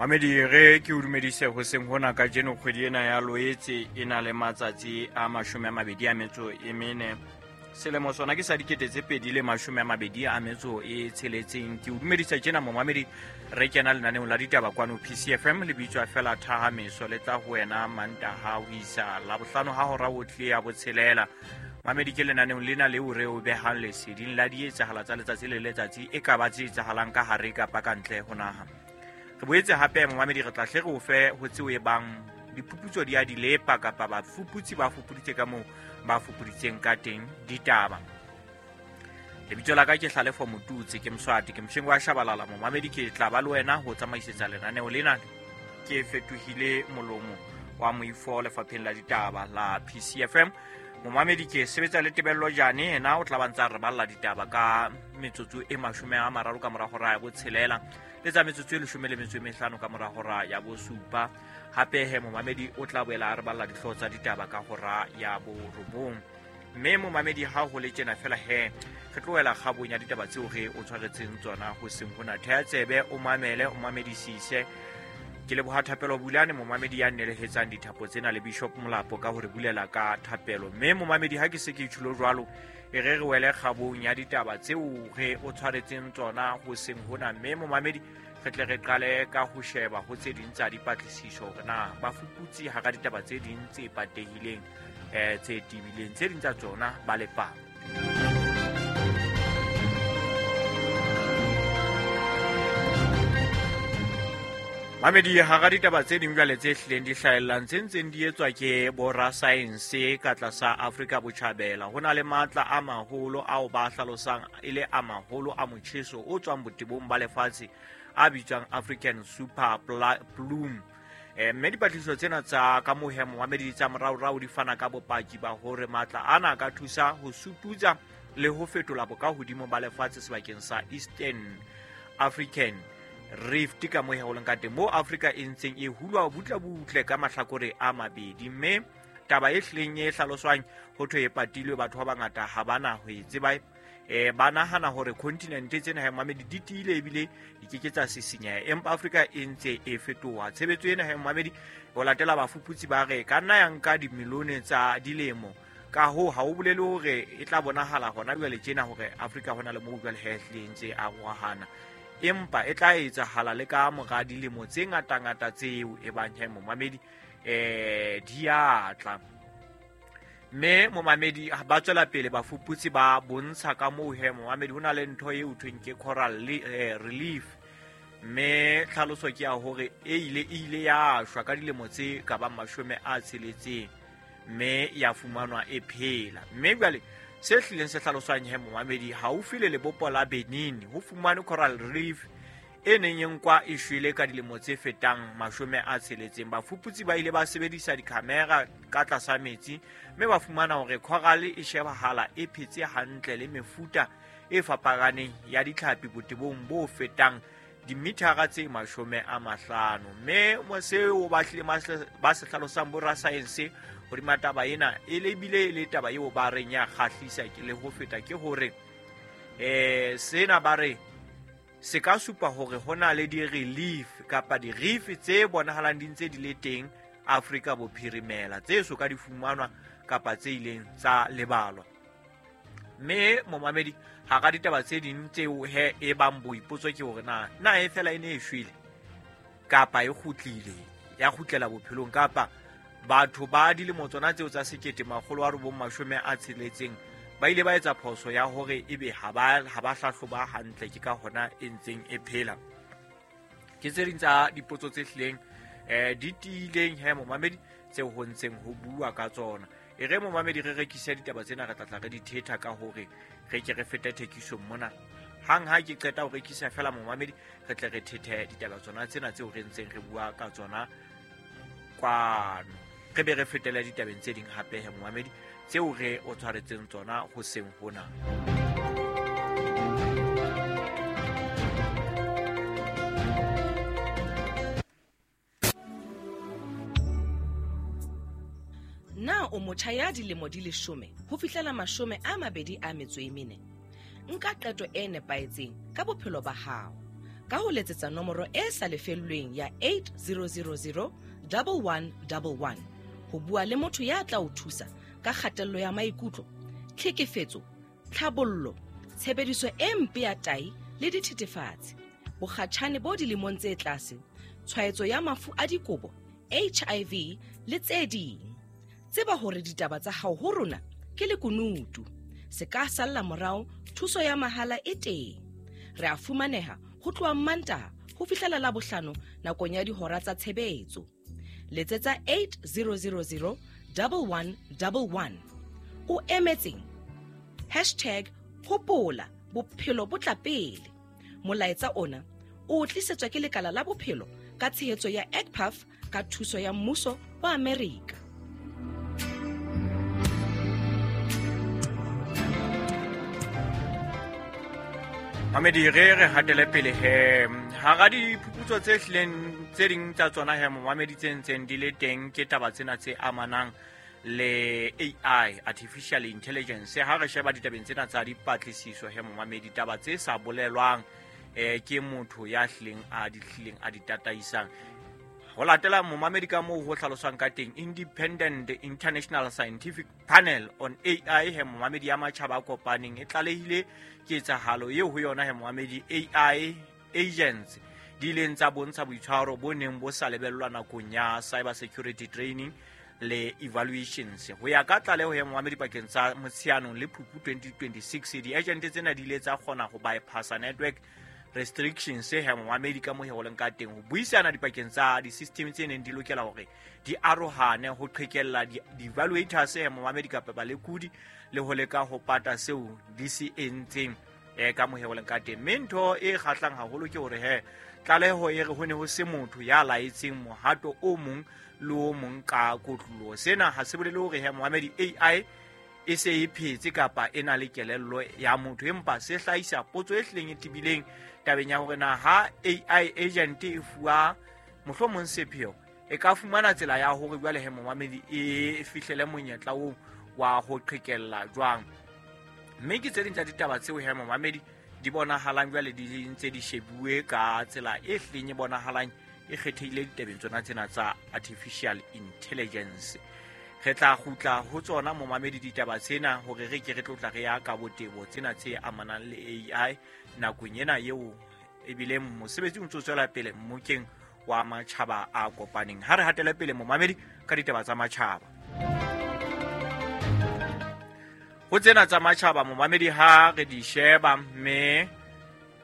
Mamedi, re ke o dumedise hoseng hona kajeno. Kgwedi ena ya Loetse e na le matsatsi a 24, selemo sona ke sa 2026. Ke o dumedisa tjena, momamedi. Re kena lenaneong la ditaba kwano PCFM, le bitswa fela Thahameso, le tla ho wena Mantaha ho isa Labohlano ha hora o tle ya 6. Mamedi, ke lenaneong lena leo re o behang leseding la dietsahala tsa letsatsi le letsatsi, e ka ba tse etsahalang ka hare kapa ka ntle ho naha. Re boetse hape, momamedi, re tla hle re o fe ho tseo e bang diphuputso di a di lepa, kapa bafuputsi ba fupuditse ka moo ba fupuditseng ka teng ditaba. Lebitso la ka ke Hlalefo Motutse, ke Moswati, ke mosheng wa Shabalala. Momamedi, ke tla ba le wena ho tsamaisetsa lenaneo lena. Ke fetohile molomo wa moifo lefapheng la ditaba la PCFM. Momamedi, ke sebetsa le Tebello Jane, ena o tla ba ntsa re balla ditaba ka metsotso e 30 ka mora hora ya 6, le tsa metsotso e 15 ka mora hora ya 7. Hape he, momamedi, o tla boela a re balla dihlooho tsa ditaba ka hora ya 9. Mme momamedi, ha ho le tjena fela he, re tlohela kgabong ya ditaba tseo re o tshwaretseng tsona hoseng hona. Theha tsebe, o mamele, o mamedisise. Ke leboha Thapelo Bulane, momamedi, ya nnelehetsang dithapo tsena, le Bishop Molapo ka hore bulela ka thapelo. Mme momamedi, ha ke se ke tjhulo jwalo, e re re wele kgabong ya ditaba tseo re o tshwaretseng tsona hoseng hona. Mme momamedi, re tle re qale ka ho sheba ho tse ding tsa dipatlisiso, hore na bafuputsi hara ditaba tse ding tse patehileng, tse tebileng, tse ding tsa tsona ba lepang. Mamedi, hara ditaba tse ding jwale tse hlileng di hlahellang, tse ntseng di etswa ke borasaense ka tlasa Afrika Botjhabela, ho na le matla a maholo ao ba hlalosang e le a maholo a motjheso o tswang botebong ba lefatshe, a bitswang African Super Plume. Mme dipatlisiso tsena tsa ka mohemo wa medi tsa moraorao di fana ka bopaki ba hore matla ana a ka thusa ho sututsa le ho fetola bokahodimo ba lefatshe sebakeng sa Eastern African Rift, ka moo ho leng ka teng, moo Afrika e ntseng e hulwa butle-butle ka mahlakore a mabedi. Mme taba e hlileng e hlaloswang ho thwe e patilwe, batho ba bangata ha bana ho e tseba. Ba nahana hore continent tsena ha mamedi di tiile ebile di ke ke tsa sisinyeha, empa Afrika e ntse e fetoha. Tshebetso ena ha mamedi, ho latela bafuputsi, ba re ka nna ya nka dimilione tsa dilemo. Ka hoo ha o bolele hore e tla bonahala hona jwale tjena hore Afrika hona le moo jwale he hlile ntse a rohana, empa e tla etsahala le ka mora dilemo tse ngatangata tseo e bang he, momamedi, di a tla. Mme momamedi, ba tswela pele bafuputsi ba bontsha ka moo he, momamedi, ho na le ntho e thweng ke coral relief. Mme tlhaloso ke ya hore e ile ya shwa ka dilemo tse ka bang 60, mme ya fumanwa e phela. Mme jwale se hlileng se hlaloswang he, momamedi, haufi le lebopo la Benin ho fumanwe coral reef e neng e nkwa e shwele ka dilemo tse fetang 60. Bafuputsi ba ile ba sebedisa dikhamera ka tlasa metsi, mme ba fumana hore coral e shebahala e phetse hantle le mefuta e fapakaneng ya ditlhapi botebong bo fetang dimithara tse 50. Mme seo ba hlile ba se hlalosang borasaense hodima taba ena, e le bile e le taba eo ba reng ya kgahlisa ke le ho feta, ke hore sena ba re se ka supa hore ho na le di-relief kapa di-reef tse bonahalang di ntse di le teng Afrika Bophirimela, tse so ka di fumanwa kapa tse ileng tsa lebalwa. Mme momamedi, hara ditaba tse ding tseo he e bang boipotso ke hore na e fela e ne e shwele kapa e kgutlile, ya kgutlela bophelong, kapa batho ba dilemo tsona tseo tsa 1960 ba ile ba etsa phoso ya hore ebe ha ba hlahloba hantle, ke ka hona e ntseng e phela. Ke tse ding tsa dipotso tse hlileng di tiileng he, momamedi, tseo ho ntseng ho bua ka tsona. E re, momamedi, re rekise ditaba tsena, re tla tla re di thetha ka hore re ke re fete thekisong mona. Hang ha ke qeta ho rekisa fela, momamedi, re tle re thethe ditaba tsona tsena tseo re ntseng re bua ka tsona kwano, re be re fetele ditabeng tse ding hape he, momamedi, tseo re o tshwaretseng tsona hoseng hona. Na o motjha ya dilemo di 10 ho fihlela 24? Nka qeto e nepahetseng ka bophelo ba hao. Ka ho letsetsa nomoro e sa lefellweng ya 8000 1111 ho bua le motho ya tla o thusa ka kgatello ya maikutlo, tlhekefetso, tlhabollo, tshebediso e mpe ya tai le dithethefatsi, bokgatjhane bo dilemong tse tlase, tshwaetso ya mafu a dikobo, HIV le tse ding. Tseba hore ditaba tsa hao ho rona ke lekunutu. Se ka salla morao, thuso ya mahala e teng. Re a fumaneha ho tloha Mantaha ho fihlela Labohlano nakong ya dihora tsa tshebetso. Letsetsa 8000 1111. O emetseng? Hashtag hopola bophelo bo tla pele. Molaetsa ona o tlisetswa ke lekala la bophelo ka tshehetso ya EGPAF ka thuso ya mmuso wa Amerika. Mamedi, re hatele pele he hara diphuputso tse hlileng tse ding tsa tsona he momamedi tse ntseng di le teng ke taba tsena tse amanang le AI, artificial intelligence. Ha re sheba ditabeng tsena tsa dipatlisiso he momamedi, taba tse sa bolelwang ke motho ya hlileng a di hlileng a di tataisang. Ho latela momamedi ka moo ho hlaloswang ka teng, Independent International Scientific Panel on AI he momamedi ya matjhaba a kopaneng e tlalehile ketsahalo eo ho yona he momamedi AI agents di ileng tsa bontsha boitshwaro bo neng bo sa lebellwa nakong ya cyber security training le evaluations. Ho ya ka tlaleho ya momamedi pakeng tsa Motsheanong le Phupu 2026, di-agent tsena di ile tsa kgona ho bypassa network restrictions he momamedi ka moo ho leng ka teng, ho buisana dipakeng tsa di-system tse neng di lokela hore di arohane, ho qhekella di-evaluators he momamedi kapa balekodi, le ho leka ho pata seo di se entseng ka moo ho leng ka teng. Mme ntho e kgahlang haholo ke hore he tlaleho e re ho ne ho se motho ya laetseng mohato o mong le o mong ka kotloloho. Sena ha se bolele hore he momamedi AI e se e phetse kapa e na le kelello ya motho, empa se hlahisa potso e hlileng e tebileng tabeng ya hore na ha AI agent e fuwa mohlomong sepheo, e ka fumana tsela ya hore jwale he momamedi e fihlele monyetla oo wa ho qhekella jwang. Mme ke tse ding tsa ditaba tseo he momamedi di bonahalang jwale di ntse di shebuwe ka tsela e hlileng e bonahalang e kgethehile ditabeng tsona tsena tsa artificial intelligence. Re tla kgutla ho tsona momamedi ditaba tsena hore re ke re tlotla re ya ka botebo tsena tse amanang le AI nakong ena eo ebile mosebetsi o ntse o tswela pele mmokeng wa matjhaba a kopaneng. Ha re hatele pele momamedi ka ditaba tsa matjhaba. Ho tsena tsa matjhaba momamedi ha re di sheba, mme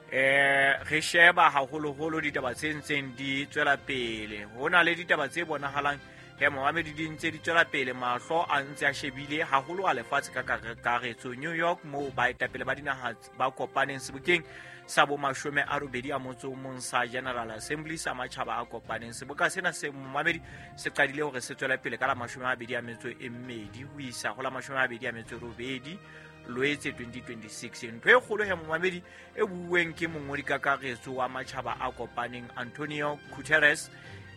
re sheba haholoholo ditaba tse ntseng di tswela pele. Ho na le ditaba tse bonahalang he momamedi di ntse di tswela pele, mahlo a ntse a shebile haholo a lefatshe ka kakaretso. New York moo baetapele ba dinaha ba kopaneng sebokeng sa bo 81 sa General Assembly sa matjhaba a kopaneng. Seboka sena se momamedi se qadile hore se tswele pele ka la 22 ho isa ho la 28 Loetse 2026. Ntho e kgolo he momamedi e buuweng ke mongodi kakaretso wa matjhaba a kopaneng Antonio Guterres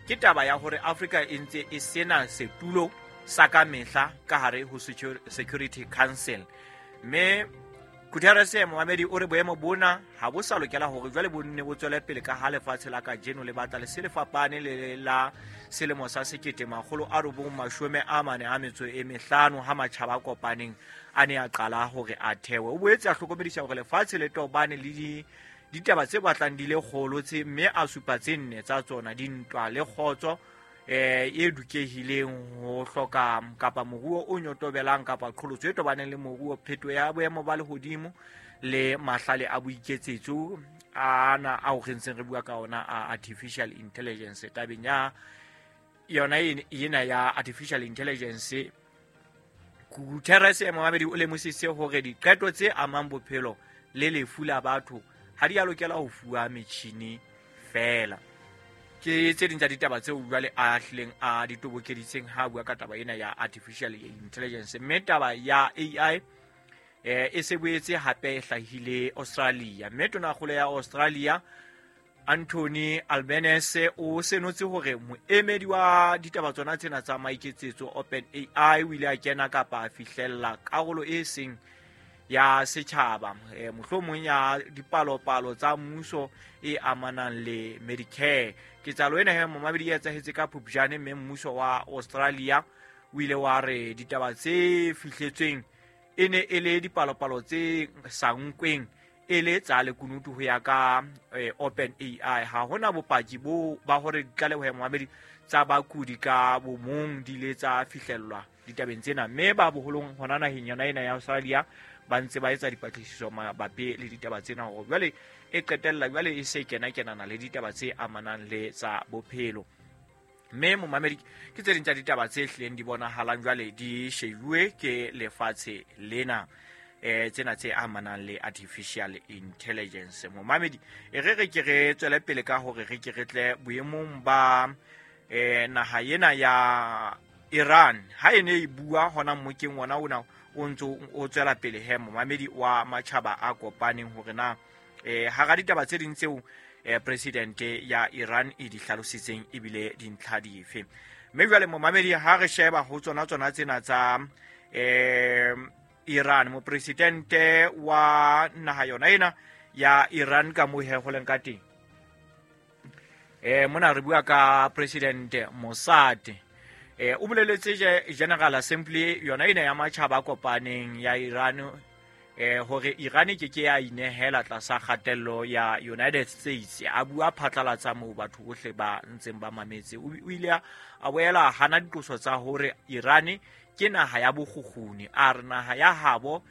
ke taba ya hore Afrika e ntse e sena setulo sa ka mehla ka hare ho Security Council. Mme Guterres momamedi o re boemo bona ha bo sa lokela hore jwale bo nne bo tswele pele ka ha lefatshe la kajeno le batla le se le fapane le la selemo sa 1945 ha matjhaba a kopaneng a ne a qala hore a thewe. O boetse a hlokomedisa hore lefatshe le tobane le ditaba tse batlang di le kgolo tse, mme a supa tse nne tsa tsona: dintwa le kgotso e dukehileng, ho hloka kapa moruo o nyotobelang kapa qholotso e tobaneng le moruo, pheto ya boemo ba lehodimo le mahlale a boiketsetso ana ao re ntseng re bua ka ona a artificial intelligence. Tabeng ya yona ena ya artificial intelligence, Guterres momamedi o lemositse hore diqeto tse amang bophelo le lefu la batho ha di a lokela ho fuwa metjhini fela. Ke tse ding tsa ditaba tseo jwale a hlileng a di tobokeditseng ha bua ka taba ena ya artificial intelligence. Mme taba ya AI e se boetse hape e hlahile Australia. Mme tonakgolo ya Australia Anthony Albanese o senotse hore moemedi wa ditaba tsona tsena tsa maiketsetso OpenAI o ile a kena kapa a fihlella karolo e seng ya setjhaba, mohlomong ya dipalopalo tsa mmuso e amanang le Medicare. Ketsahalo ena he momamedi e etsahetse ka Phupjane, mme mmuso wa Australia o ile wa re ditaba tse fihletsweng e ne e le dipalopalo tse sa nkweng e le tsa lekunutu ho ya ka Open AI. Ha hona bopaki bo ba hore ditlaleho ya momamedi tsa bakudi ka bomong di ile tsa fihlellwa ditabeng tsena, mme ba boholong hona naheng yona ena ya Australia ba ntse ba etsa dipatlisiso mabapi le ditaba tsena, hore jwale e qetella jwale e se kena-kenana le ditaba tse amanang le tsa bophelo. Mme momamedi, ke tse ding tsa ditaba tse hlileng di bonahalang jwale di shejuwe ke lefatshe lena, tsena tse amanang le artificial intelligence. Momamedi, e re re ke re tswele pele ka hore re ke re tle boemong ba naha ena ya Iran. Ha e ne e bua hona mmokeng wona ona o ntso o tswela pele he momamedi wa matjhaba a kopaneng, hore na hara ditaba tse ding tseo presidente ya Iran e di hlalositseng ebile dintlha dife. Mme jwale momamedi, ha re sheba ho tsona tsena tsa Iran, mopresidente wa naha yona ena ya Iran ka moo he ho leng ka teng, mona re bua ka President Mossad. O boleletse General Assembly yona ena ya matjhaba a kopaneng ya Iran, hore Iran e ke ke ya inehela tlasa kgatello ya United States. A bua phatlalatsa moo batho bohle ba ntseng ba mametse. O ile a boela hana diqoso tsa hore Iran ke naha ya bokgukguni. A re naha ya habo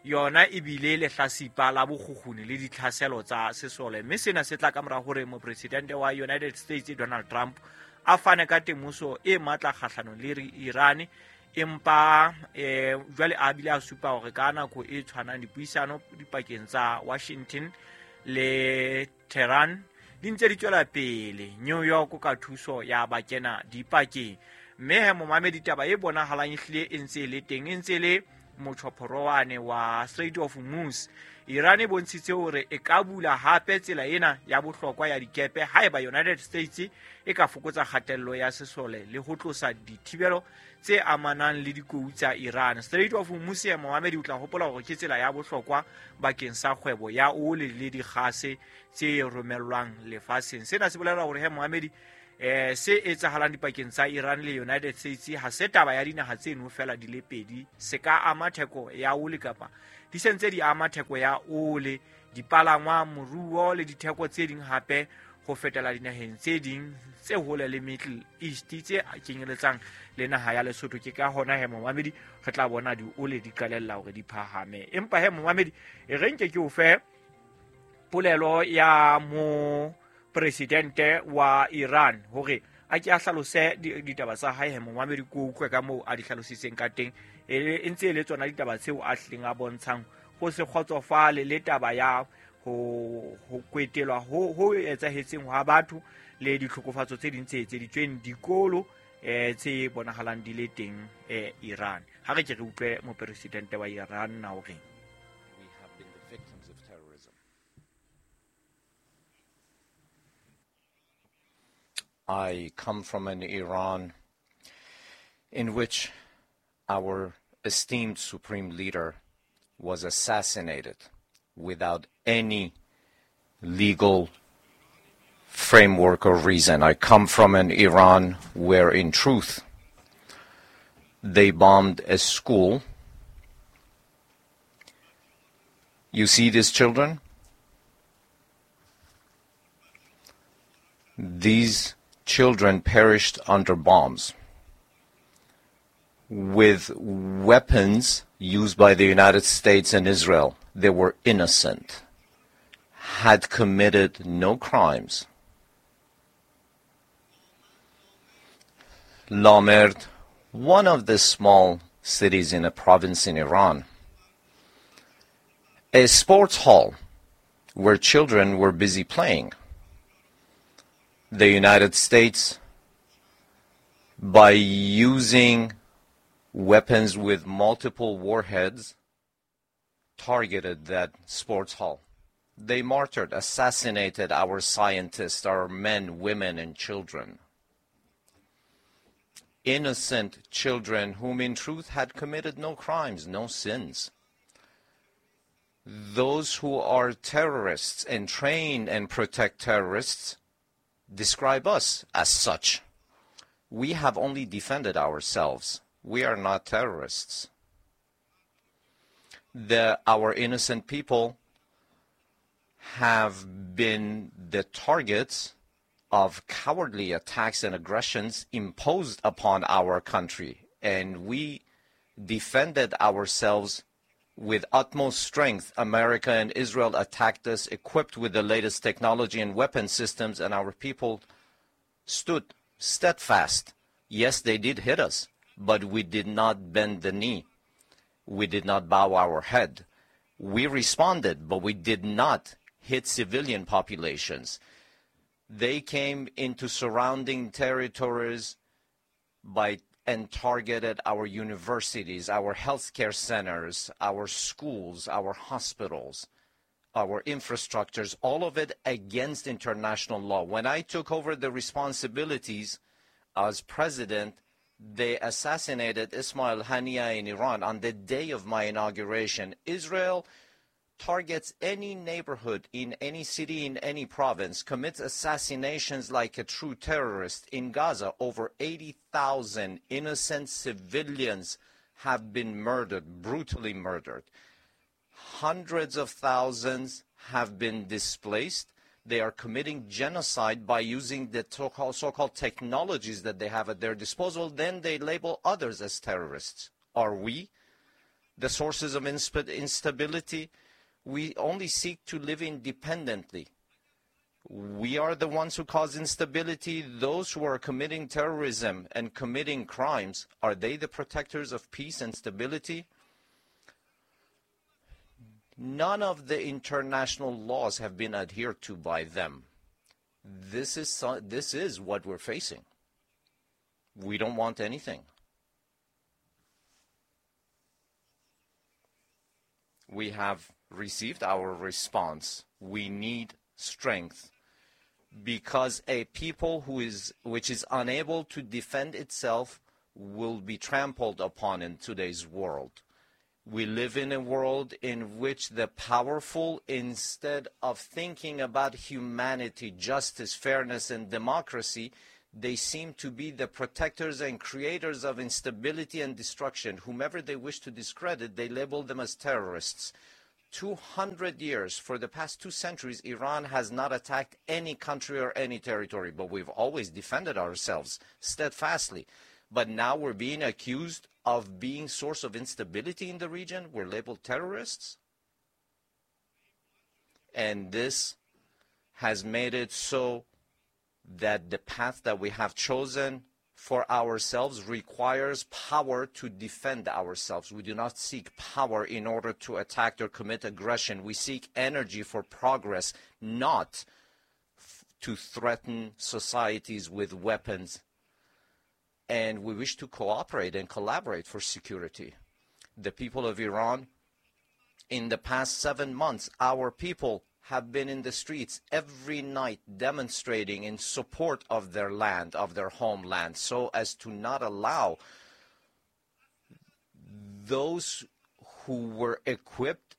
yona ebile lehlasipa la bokgukguni le ditlhaselo tsa sesole, mme sena se tla ka mora hore mopresidente wa United States Donald Trump a fane ka temoso e matla kgahlanong le Iran. Empa jwale a bile a supa hore ka nako e tshwanang dipuisano dipakeng tsa Washington le Tehran di ntse di tswela pele New York ka thuso ya bakena dipakeng. Mme he momamedi, taba e bonahalang e hlile e ntse e le teng, e ntse e le motjhophorowane wa Strait of Hormuz. Iran e bontshitse hore e ka bula hape tsela ena ya bohlokwa ya dikepe haeba United States e ka fokotsa kgatello ya sesole le ho tlosa dithibelo tse amanang le dikou tsa Iran. Strait of Hormuz ya momamedi, o tla hopola hore ke tsela ya bohlokwa bakeng sa kgwebo ya oli le dikgase tse romellwang lefatsheng. Sena se bolela hore he momamedi, se etsahalang dipakeng tsa Iran le United States ha se taba ya dinaha tseno fela di le pedi, se ka ama theko ya oli kapa di sentse di ama theko ya oli, dipalangwa, moruo le ditheko tse ding hape ho fetela dinaheng tse ding tse hole le Middle East tse kenyeletsang le naha ya Lesotho. Ke ka hona he momamedi re tla bona di oli di qalella hore di phahame. Empa he momamedi, e re nke ke o fe polelo ya mo presidente wa Iran hore a ke a hlalose ditaba tsa hae. He momamedi, ko utlwe ka moo a di hlalositseng ka teng, e ntse e le tsona ditaba tseo a hlileng a bontshang ho se kgotsofale le taba ya ho kwetelwa ho etsahetseng hwa batho le ditlhokofatso tse ding tse etseditsweng dikolo tse bonahalang di le teng Iran. Ha re ke re utlwe mopresidente wa Iran na hore we have been the victims of terrorism. I come from an Iran in which our esteemed supreme leader was assassinated without any legal framework or reason. I come from an Iran where, in truth, they bombed a school. You see these children? These children perished under bombs with weapons used by the United States and Israel. They were innocent, had committed no crimes. Lamerd, one of the small cities in a province in Iran, a sports hall where children were busy playing. The United States, by using weapons with multiple warheads, targeted that sports hall. They martyred, assassinated our scientists, our men, women, and children. Innocent children whom in truth had committed no crimes, no sins. Those who are terrorists and train and protect terrorists describe us as such. We have only defended ourselves. We are not terrorists. Our innocent people have been the targets of cowardly attacks and aggressions imposed upon our country, and we defended ourselves with utmost strength. America and Israel attacked us equipped with the latest technology and weapon systems, and our people stood steadfast. Yes, they did hit us, but we did not bend the knee. We did not bow our head. We responded, but we did not hit civilian populations. They came into surrounding territories and targeted our universities, our healthcare centers, our schools, our hospitals, our infrastructures, all of it against international law. When I took over the responsibilities as president, they assassinated Ismail Haniyeh in Iran on the day of my inauguration. Israel targets any neighborhood in any city, in any province, commits assassinations like a true terrorist. In Gaza, over 80,000 innocent civilians have been murdered, brutally murdered. Hundreds of thousands have been displaced. They are committing genocide by using the so-called technologies that they have at their disposal. Then they label others as terrorists. Are we the sources of instability? We only seek to live independently. We are the ones who cause instability. Those who are committing terrorism and committing crimes, are they the protectors of peace and stability? None of the international laws have been adhered to by them. This is what we're facing. We don't want anything. We have received our response. We need strength, because a people which is unable to defend itself will be trampled upon in today's world. We live in a world in which the powerful, instead of thinking about humanity, justice, fairness, and democracy, they seem to be the protectors and creators of instability and destruction. Whomever they wish to discredit, they label them as terrorists. 200 years, for the past 2 centuries, Iran has not attacked any country or any territory, but we've always defended ourselves steadfastly. But now we're being accused of being source of instability in the region. We're labeled terrorists. And this has made it so that the path that we have chosen for ourselves requires power to defend ourselves. We do not seek power in order to attack or commit aggression. We seek energy for progress, not to threaten societies with weapons. And we wish to cooperate and collaborate for security. The people of Iran, in the past 7 months, our people have been in the streets every night demonstrating in support of their land, of their homeland, so as to not allow those who were equipped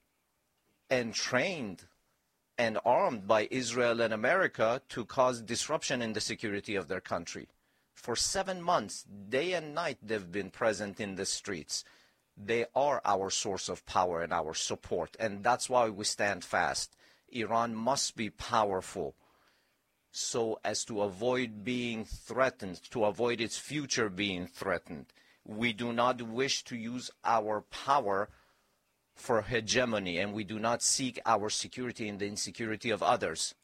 and trained and armed by Israel and America to cause disruption in the security of their country. For 7 months, day and night, they've been present in the streets. They are our source of power and our support, and that's why we stand fast. Iran must be powerful so as to avoid being threatened, to avoid its future being threatened. We do not wish to use our power for hegemony, and we do not seek our security in the insecurity of others.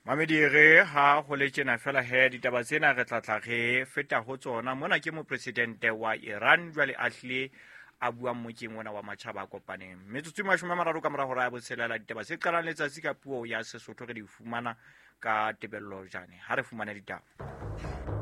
Mamedi re ha ho le tjena fela he ditaba tsena re tla re feta ho tsona. Mona ke mopresidente wa Iran jwale a hlile a buang mokeng ona wa matjhaba a kopaneng. Metsotso e 30 ka mora hora ya botshelela, ditaba tse qalang letsatsi ka puo ya Sesotho re di fumana ka Tebello Jane. Ha re fumane ditaba.